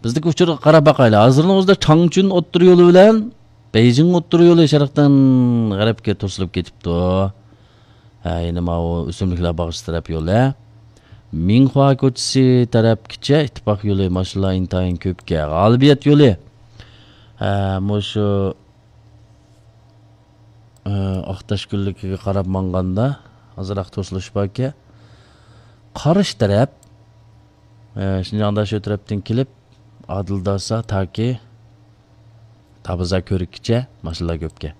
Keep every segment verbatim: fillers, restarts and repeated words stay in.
بىزدىكى ئۇچۇرغا قاراپ باقايلى. ھازىرنىڭ ئۆزىدە چاڭچۈن ئوتتۇرا يولى بىلەن بېيجىڭ ئوتتۇرا يولى شەرقتىن غەربكە توسۇلۇپ كېتىپتۇ. ھە، يەنە ماۋۇ ئۆسۈملۈكلەر باغچىسى تەرەپ يولى. مىڭخۇا كوچىسى تەرەپكىچە ئىتتىپاق يولى ماشىنىلار ئىنتايىن كۆپكەن. غالىبىيەت يولى. ھە، مۇشۇ، ئە، ئاقتاش گۈللۈكىگە قاراپ ماڭغاندا ئازراق توسۇلۇش باركەن. قارشى تەرەپ، ئە، شىنجاڭدا شۇ تەرەپتىن كېلىپ، ئادىل داسا تاكى تابىزا كۆرۈككىچە ماشىنىلار كۆپكەن.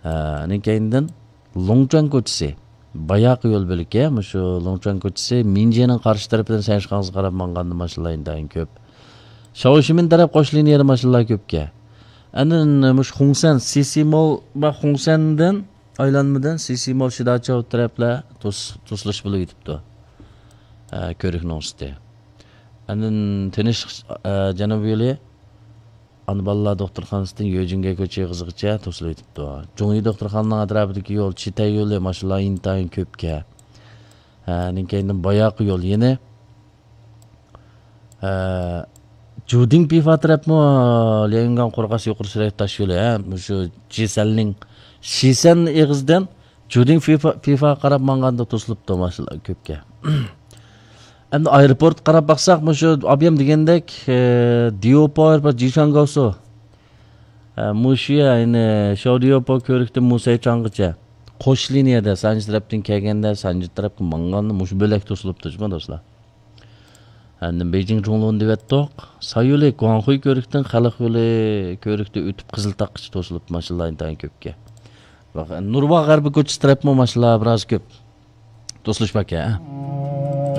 ئە، ئاندىن كەينىدىن لوڭچۇەن كوچىسى، باياقى يول بۆلىكى، مۇشۇ لوڭچۇەن كوچىسى مىنجيېنىڭ قارشى تەرىپىدىن سەنشىخاڭغا قاراپ ماڭغاندا ماشىنىلار ئىنتايىن كۆپ. شاۋشىمىن تەرەپ قوش لىنىيەدە ماشىنىلار كۆپكەن. ئاندىن مۇشۇ خۇڭسەن، سىسىمول ۋە خۇڭسەندىن ئايلانمىدىن سىسىمول، شىداچاۋ تەرەپلەر توس-، توسۇلۇش بولۇپ كېتىپتۇ. ئە، كۆرۈكنىڭ ئۈستى. ئاندىن تىنچلىق، ئە، جەنۇبىي يولى ئانا بالىلار دوختۇرخانىسىدىن يۆجىڭگەي كوچا ئېغىزىغىچە توسۇلۇۋېتىپتۇ. جۇڭيى دوختۇرخانىنىڭ ئەتراپىدىكى يول، چىتەي يولى ماشىنىلار ئىنتايىن كۆپكەن. ھە، ئاندىن كەينىدىن باياقى يول يەنە، ھە، جۇدىڭ پىفا تەرەپمۇ ليەنگاڭ قورغاس يۇقىرى سۈرئەت تاش يولى، ھە، مۇشۇ جىسەننىڭ، شىسەن ئېغىزىدىن جۇدىڭ پىفا، پىفا قاراپ ماڭغاندا توسۇلۇپتۇ ماشىنىلار كۆپكەن. ئەمدى ئايروپورتقا قاراپ باقساق، مۇشۇ ئابىيام دېگەندەك، ئە، ديوپو ئايروپورت، جىشاڭگاۋسۇ. ئە، مۇشۇ يەنى شاۋديوپو كۆۋرۈكتىن مۇسەيچاڭغىچە. قوش لىنىيەدە سانجى تەرەپتىن كەلگەندە سانجى تەرەپكە ماڭغاندا مۇشۇ بۆلەك توسۇلۇپتۇ جۇمۇ دوستلار. ئەمدى بېيجىڭ جۇڭلۇن دېۋەتتۇق. سايولى گۇاڭخۇي كۆۋرۈكتىن خەلق يولى كۆۋرۈكتە ئۆتۈپ قىزىل تاغقىچە توسۇلۇپ ماشىنىلار ئىنتايىن كۆپكەن. باق، نۇرباغ غەربىي كوچىسى تەرەپمۇ ماشىنىلار بىراز كۆپ. توسۇلۇش باركەن.